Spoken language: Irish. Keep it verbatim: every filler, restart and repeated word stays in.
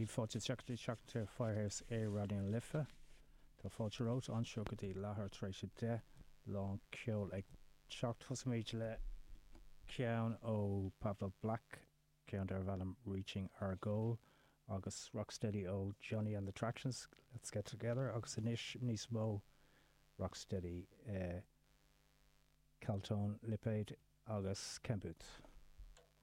Fáilte isteach seachtar Firehouse ar Raidió na Life. Tá fáilte romhat anseo go dtí leathuair tar éis a deich lán ceol ag teacht Tosaímid le ceann ó Pablo Black ceann darb ainm Reaching Our Goal agus Rocksteady ó Johnny and the Tractions Let's Get Together agus anois níos mó Rocksteady eh, Caltón Lipéad agus Ken Boothe.